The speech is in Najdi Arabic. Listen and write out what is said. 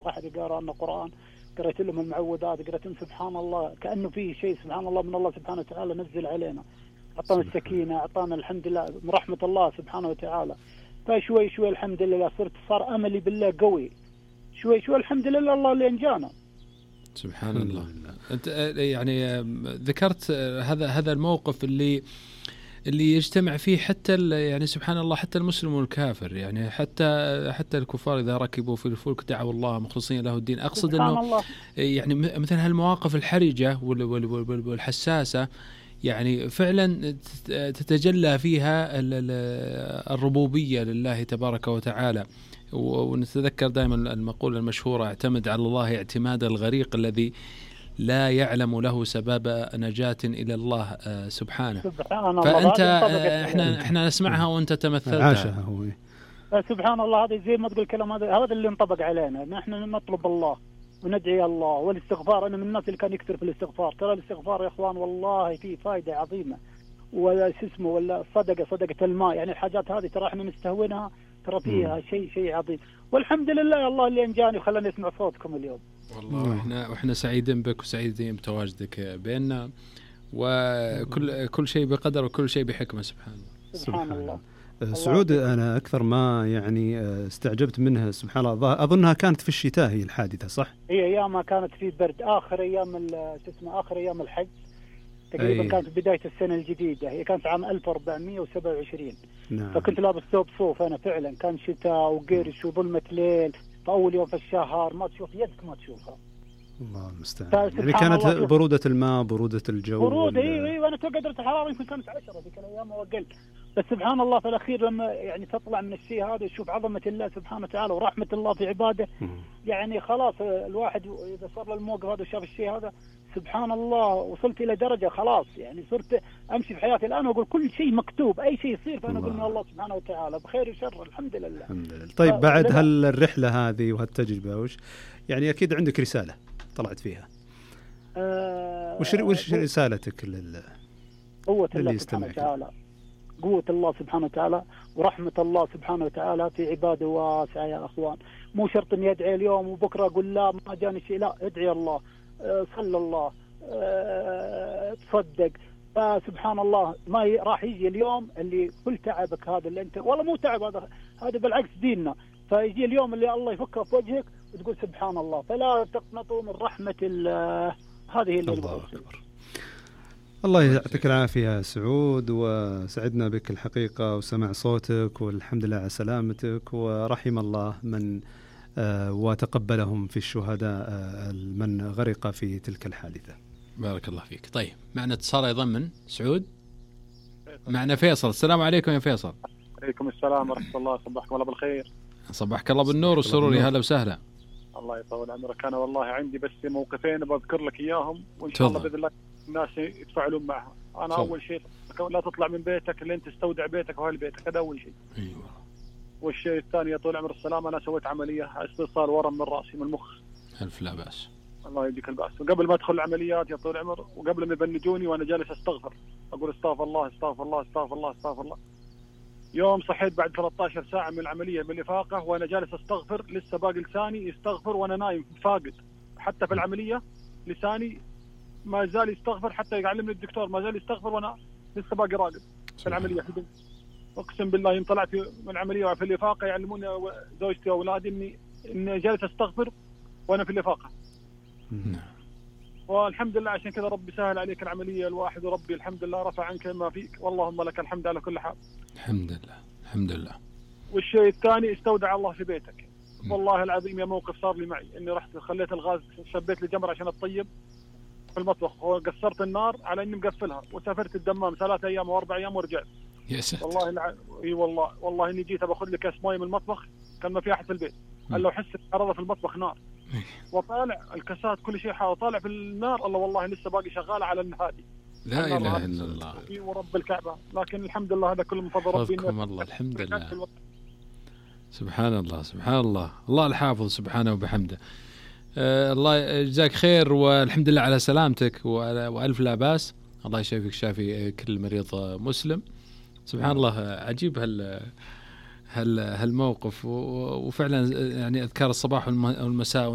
واحد قرأ لنا قرآن، قرأت لهم المعوذات، قرأت لهم سبحان الله، كأنه فيه شيء سبحان الله من الله سبحانه وتعالى نزل علينا، أعطانا السكينة، أعطانا الحمد لله من رحمة الله سبحانه وتعالى. فشوي شوي الحمد لله صار أملي بالله قوي، شوي شوي الحمد لله الله اللي أنجانا. سبحان الله. أنت يعني ذكرت هذا الموقف اللي يجتمع فيه حتى يعني سبحان الله حتى المسلم والكافر، يعني حتى الكفار إذا ركبوا في الفلك دعوا الله مخلصين له الدين. أقصد أنه يعني مثل هالمواقف الحرجة والحساسة يعني فعلا تتجلى فيها الربوبية لله تبارك وتعالى. ونتذكر دائما المقولة المشهورة: اعتمد على الله اعتماد الغريق الذي لا يعلم له سبب نجاة إلى الله سبحانه. فأنت احنا نسمعها وأنت تمثلتها. سبحان الله، هذا زي ما تقول الكلام هذا اللي ينطبق علينا. نحن نطلب الله وندعي الله والاستغفار. أنا من الناس اللي كان يكثر في الاستغفار. ترى الاستغفار يا إخوان والله فيه فائدة عظيمة، ولا اسمه ولا صدقة الماء، يعني الحاجات هذه ترى احنا نستهونها، ترى فيها شيء عظيم. والحمد لله يا الله اللي أنجاني وخلاني أسمع صوتكم اليوم. والله احنا سعيدين بك وسعيدين بتواجدك بيننا، وكل شيء بقدر وكل شيء بحكمة. سبحان الله. سعود، أنا أكثر ما يعني استعجبت منها سبحان الله، أظنها كانت في الشتاء هي الحادثة، صح؟ هي أيامها كانت في برد، آخر أيام الحج تقريبا. كانت بداية السنة الجديدة، هي كانت عام 1427. نعم. فكنت لابس ثوب صوف أنا فعلا، كان شتاء وقرش وظلمة ليل، فأول يوم في الشهر ما تشوف يدك ما تشوفها. الله المستعان. يعني كانت برودة الماء، برودة الجو، برودة. ايوه انا توقع درجة الحرارة يمكن كانت 10 ذيك الايام واقل، بس سبحان الله في الاخير لما يعني تطلع من الشيء هذا وتشوف عظمة الله سبحانه وتعالى ورحمة الله في عباده، يعني خلاص الواحد اذا صار له الموقف هذا وشاف الشيء هذا سبحان الله وصلت الى درجة خلاص يعني صرت امشي في حياتي الان واقول كل شيء مكتوب، اي شيء يصير فانا اقول من الله سبحانه وتعالى بخير وشر الحمد لله. الحمد لله. طيب بعد هالرحلة هذه وهالتجربة يعني اكيد عندك رسالة طلعت فيها. وش رسالتك قوة الله سبحانه وتعالى، قوة الله سبحانه وتعالى ورحمة الله سبحانه وتعالى في عباده واسعة يا أخوان. مو شرط أن يدعي اليوم وبكرة أقول لا ما جاني شيء، لا ادعي الله، صلى الله، تصدق. فسبحان الله ما راح يجي اليوم اللي كل تعبك هذا اللي أنت والله مو تعب، هذا بالعكس ديننا. فيجي اليوم اللي الله يفكه في وجهك وتقول سبحان الله. فلا تقنطوا من رحمة الله، هذه اللي الله أكبر. الله يعطيك العافية يا سعود، وسعدنا بك الحقيقة وسمع صوتك، والحمد لله على سلامتك، ورحم الله من وتقبلهم في الشهداء من غرق في تلك الحادثة. بارك الله فيك. طيب معنا اتصال أيضا من سعود، معنا فيصل. السلام عليكم يا فيصل. عليكم السلام ورحمة الله، صباحكم الله بالخير. صباحك الله بالنور والسرور، يا هلا وسهلا. الله يطول عمرك. أنا والله عندي بس موقفين بذكر لك إياهم، وإن شاء الله بإذن الله الناس يتفاعلون معها. أنا أول شيء لا تطلع من بيتك لين تستودع بيتك وأهل بيتك، هذا أول شيء. أيوة. والشيء الثاني يا طول عمر السلام، أنا سويت عملية استئصال ورم من رأسي من المخ. ألف لا بأس. الله يديك البأس. وقبل ما أدخل العمليات يا طول عمر، وقبل ما يبنجوني وأنا جالس أستغفر، أقول استغفر الله استغفر الله استغفر الله استغفر الله. يوم صحيت بعد 13 ساعة من العملية بالإفاقة وأنا جالس أستغفر، لسه باقي لساني يستغفر وأنا نايم فاقد. حتى في العملية لساني ما زال يستغفر، حتى يعلمني الدكتور ما زال يستغفر وأنا لسه باقي راقد في العملية. أقسم بالله يوم طلعت من العملية وفي الإفاقة يعلموني زوجتي وأولادي إني جالس أستغفر وأنا في الإفاقة. والحمد لله عشان كذا ربي سهل عليك العملية الواحد، وربي الحمد لله رفع عنك ما فيك، واللهم لك الحمد على كل حال. الحمد لله الحمد لله. والشيء الثاني استودع الله في بيتك. والله العظيم يا موقف صار لي معي، إني رحت خليت الغاز، شبيت لي جمر عشان أطيب في المطبخ وقصرت النار على إني مقفلها، وسافرت الدمام 3 أيام و4 أيام ورجعت. يا ساتر. والله اي والله اني جيت باخذ لي كاس مويه من المطبخ، كان ما في احد في البيت، قال لو حس عرضه في المطبخ نار، وطالع الكاسات كل شيء حاول طالع في النار. الله والله لسه باقي شغاله على النهادي. لا اله الا الله. اي ورب الكعبه، لكن الحمد لله هذا كله من فضل ربي. الله الحمد لله. سبحان الله سبحان الله، الله الحافظ سبحانه وبحمده. الله يجزاك خير، والحمد لله على سلامتك والف لا باس. الله يشافيك شافي كل مريض مسلم. سبحان الله عجيب هالموقف، وفعلا يعني أذكار الصباح والمساء